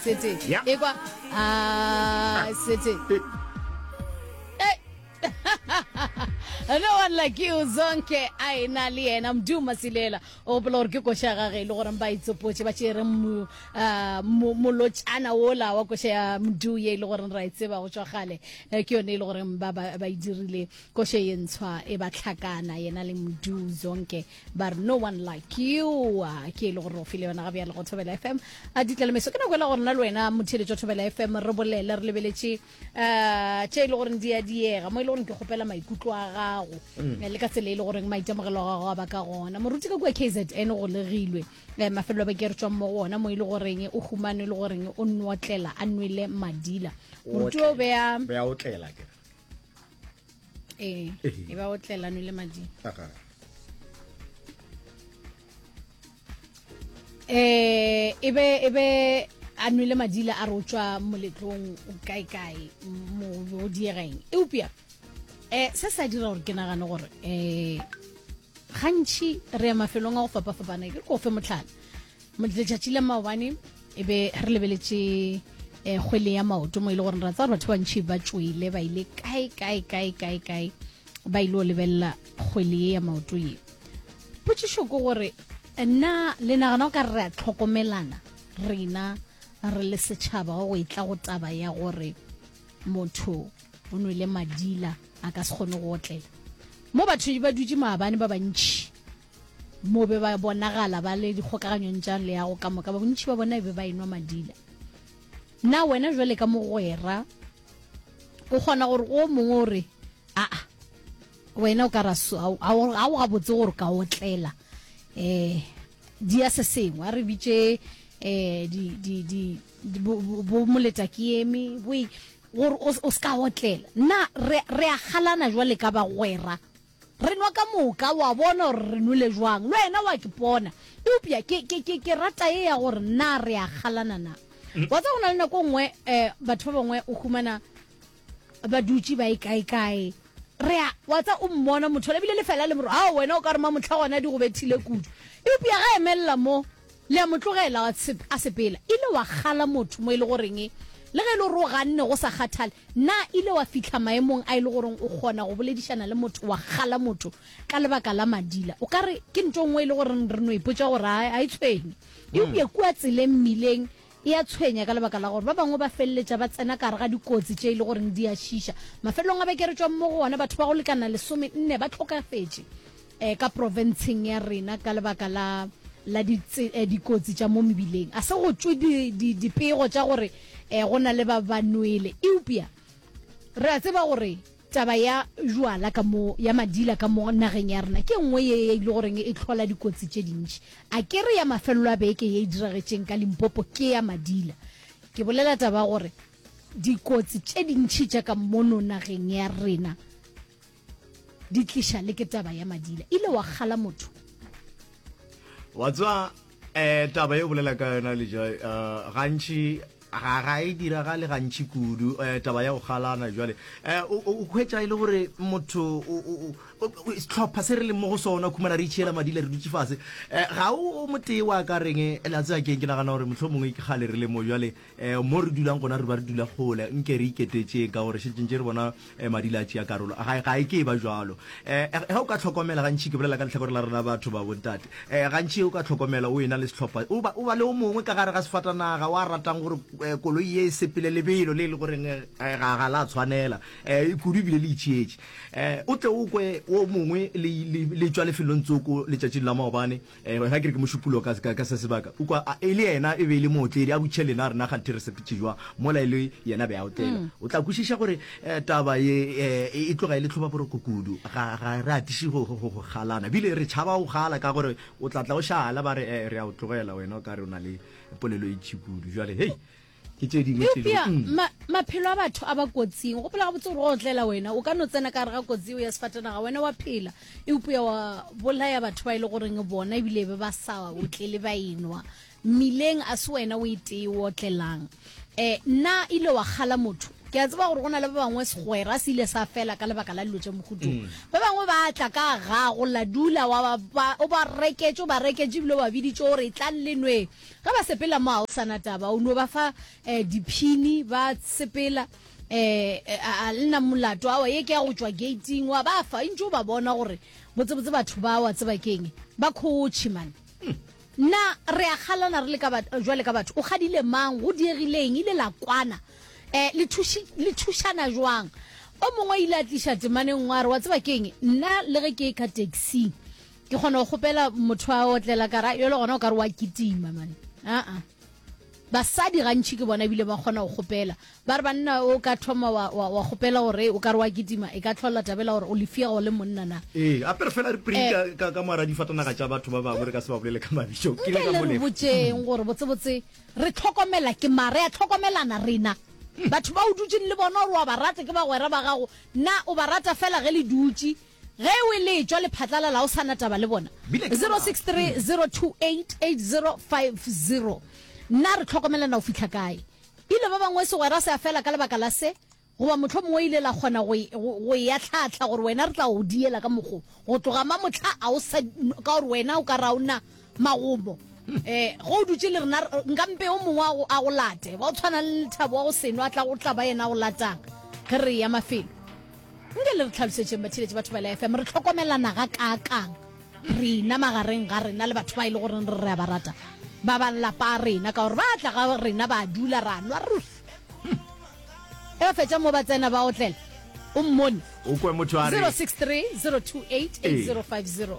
City. Yeah. Ekwa ah City. Hey. No one like you Zonke a ena le yena Mdu Masilela o gopola gore ke koša ya gage e le gore ba itsopotše ba tšere ah, molotšana wola wa koša ya Mdu ye e le gore ra e tseba go tšwa kgale eh, ke yone e le gore ba ba e dirile koša ye ntshwa e ba tlhakana yena le Mdu Zonke ba re no one like you ah, ke e le gore o file yona ga bjale go Thobela FM a ditlalemeso ke nako e la gore nna le wena motheeletši wa Thobela FM re bolele re lebeletše um tše e le goreng di a diega mo e le goreng ke kgopela maikutlo a gago mm. eh, le ka tsela e le goreng maitemogelo a gago a ba ka gona moruti ka kua kzn go legilwe um mafelelo a beke re tswang mo go ona mo e le goreng o humane e le goreng o nwotlela a nwele madila moruti o beya otlela ke ee e ba otlela nwele madila eh e be e be a nwele madila a re o tšwa moletlong kae kae mo o diegeng eupša eh se sa dira gore ke nagane gore eh gantši re ya mafelong a go fapafapana ke ko fe motlhala letšatši la maobane e be re lebeletše um kgwele ya maoto mo e le gore ra tsaya gore batho ba bantšhi ba tšwele ba ile kae kae kae kae kae ba ile go lebelela kgwele ye ya maoto ye Potšišo ke gore, Na le nagana o ka re re a hlokomelana rena re le setšhaba go etla go taba ya gore motho o nwele madila a ka se kgone go otlela? Mo batho ba dutše maabane ba bantši mo be ba bonagala ba le dikgokaganyong tša leago ka moka, ba bontši ba bona e be ba enwa madila. Na wena jwale ka mogwera o kgona gore o mongwe o re aa Wena o ka ra ga o gabotse gore ka otlela um di ya se sengwe a re bitše um di di di bo moleta ke eme bo gore o se ka otlela nna re re a galana jwale ka bagwera re nwa ka moka wa bona gore re nwele jwang le wena wa ke pona eupša ke ke ke ke rata ye ya gore na re a galana na mm. wa tsa go na le nako nngwe um batho ba bangwe o humana ba dutše ba e kae kae re a wa tsa o mmona motho ebile le fela le moro ao wena o ka re mamotlha gona di go bethile kudu eupša ga emelela mo le a mo tlogela a sepela ile wa kgala motho mo e le goreng le ge e le gore o ganne go sa kgathale na ile wa fihla maemong a e le goreng o kgona go boledišana le motho wa kgala motho ka lebaka la madila o ka re ke ntho nngwe e le goreng re no ipotša gore a e tshwenye eupša kua tseleng mmileng E a tshwenya ka lebaka la gore ba bangwe ba feleletša ba tsena ka gare ga dikotsi tše e le goreng di a šiša. Mafelelong a beke re tšwang mo go ona, batho ba go lekana lesomenne ba hlokafetše um ka profenseng ya rena ka lebaka la la dikotsi tša mo mebileng. A se go tšwe dipego tša gore um go na le ba ba nwele, eupša re a tseba gore Taba ya jwala ka mo, ya madila ka mo nageng ya rena ke e nngwe ye e le goreng e hlola dikotsi tše dintši. A ke re ya mafelelo a beke ye e diragetšeng ka Limpopo ke ya madila. Ke bolela taba ya gore dikotsi tše dintši tša ka mono nageng ya rena di tliša le ke taba ya madila. Ile wa kgala motho. Wa tseba um taba ye o bolela ka yona Lejoe, um gantši Ga, ga e diragale gantši kudu, eh, taba ya go galana jwale. Eh, o, o, o hwetša e le gore motho, o, o, o, o, sehlopha se re leng mo go sona, khumana re itšhiela madila re dutše fase. Eh, ga o, o motee wa ka reng, eh, le a tseba keng, ke nagana gore mohlomongwe ke kgale re le mo jwale, eh, mo re dulang gona re ba re dula kgole, nke re iketetšeng ka gore šetše ntše re bona eh, madila a tšea karolo. Ga, ga e ke e ba jwalo. Eh, ge o ka hlokomela gantši, ke bolela ka lehlakore la rena batho ba bontate, eh, gantši o ka hlokomela o ena le sehlopha, o ba, o ba le o mongwe ka gare ga sefatanaga wa ratang gore eh, koloi ye e sepele lebelo le e le goreng eh, ga, ga la tshwanela, eh, kudu ebile le itšhietše. Eh, o tle o kwe o mongwe le, le, le tšwa lefelong tsoko letšatšing la maobane, Eh, ga ke re ke mošupologo ka, ka, ka se sebaka. O kwa, a, e le yena e be e le mootledi, a butšhe lena, rena kganthe re sepetše jwa, mola e le yena be a otlela. Mm. O tla kwešiša gore eh, taba ye eh, e, e tloga e le tlhobaboroko kudu. Ga, ga re atiše go, go, go, go galana. Bile re tšhaba go gala ka gore o tla tla o šala ba re eh, re a o tlogela wena o ka re o na le polelo e ntši kudu. Jwale, hei, ke tše dingwe tše Eupša mm. ma, maphelo a batho a ba kotsing. Gopola gabotse gore go otlela wena o ka no tsena ka gare ga kotsi eo ya sefatanaga wena wa phela, eupša wa bolaya batho ba e le goreng bona ebile be ba sa otlele ba enwa mmileng, a se wena o e tee o otlelang. Um na ile wa kgala motho? Ke a tseba gore go na le ba bangwe segwera se ile sa fela ka lebaka la dilo tša mohuta wo. Ba bangwe ba tla ka gago la dula wa ba, o ba reketše, o ba reketše ebile o ba biditše gore etlang le nweng. Ge ba sepela mo ga o sa na taba, o no ba fa um diphini ba sepela um a le na molato, aowa ye ke ya go tšwa gating, wa ba fa, ntše o ba bona gore botsebotse batho ba wa tseba keng, ba khotšhe man. Na re a kgalana re le ka jwale ka batho? O kgadile mang? Go diegile eng? Ile la kwana? Eh, le thuši, le thušana jwang? O mongwe ile a tliša temana e nngwe a re, wa tseba keng, nna le ge ke ka taxi, ke kgona go kgopela motho a otlela ka ra, yole gona o ka re wa kitima man. Aa. Basadi gantši ke bona ebile ba kgona go kgopela. Ba re banna o ka thoma wa, wa, wa kgopela gore o ka re wa kitima, e ka hlola tabela gore o lefia go le monna na. Ee, gape re fela re pring ka, ka, ka moara difatanaga tša batho ba bangwe re ka se ba bolele ka mabitso. Ke ile ka Nke le mo re lefa. botšeng gore botsebotse re hlokomela ke mang, re a hlokomelana rena. Batho ba o dutšeng le bona gore wa ba rata ke bagwera ba gago, na o ba rata fela ge le dutše? Ge o e le tšwa lephatlalala o sa na taba le bona. Bile ke 063 028 8050 Na re hlokomelana go fihla kae? Ile ba bangwe segwera se a fela ka lebaka la se, goba mohlomongwe ile la kgona go e, go, go e ahlaahla gore wena re tla go diela ka mokgo. Go tloga mamohla a o sa, ka gore wena o ka re a o na magomo. Eh, ge o dutše le rena, nka mpe o mongwe a go, a go late, wa go tshwana le Lethabo wa go senwa, a tla go tla ba yena a go latang ge re eya mafelo. Nke le re tlhalosetšeng batheeletši ba Thobela FM, re hlokomelana gakaakang rena magareng ga rena le batho ba e le goreng re re a ba rata, ba ba lapa a rena, ka gore ba tla ga rena ba dula ra nwa ruri. E ba fetša mo ba tsena ba otlela, o mmone. O kwe motho a re 063 028 8050.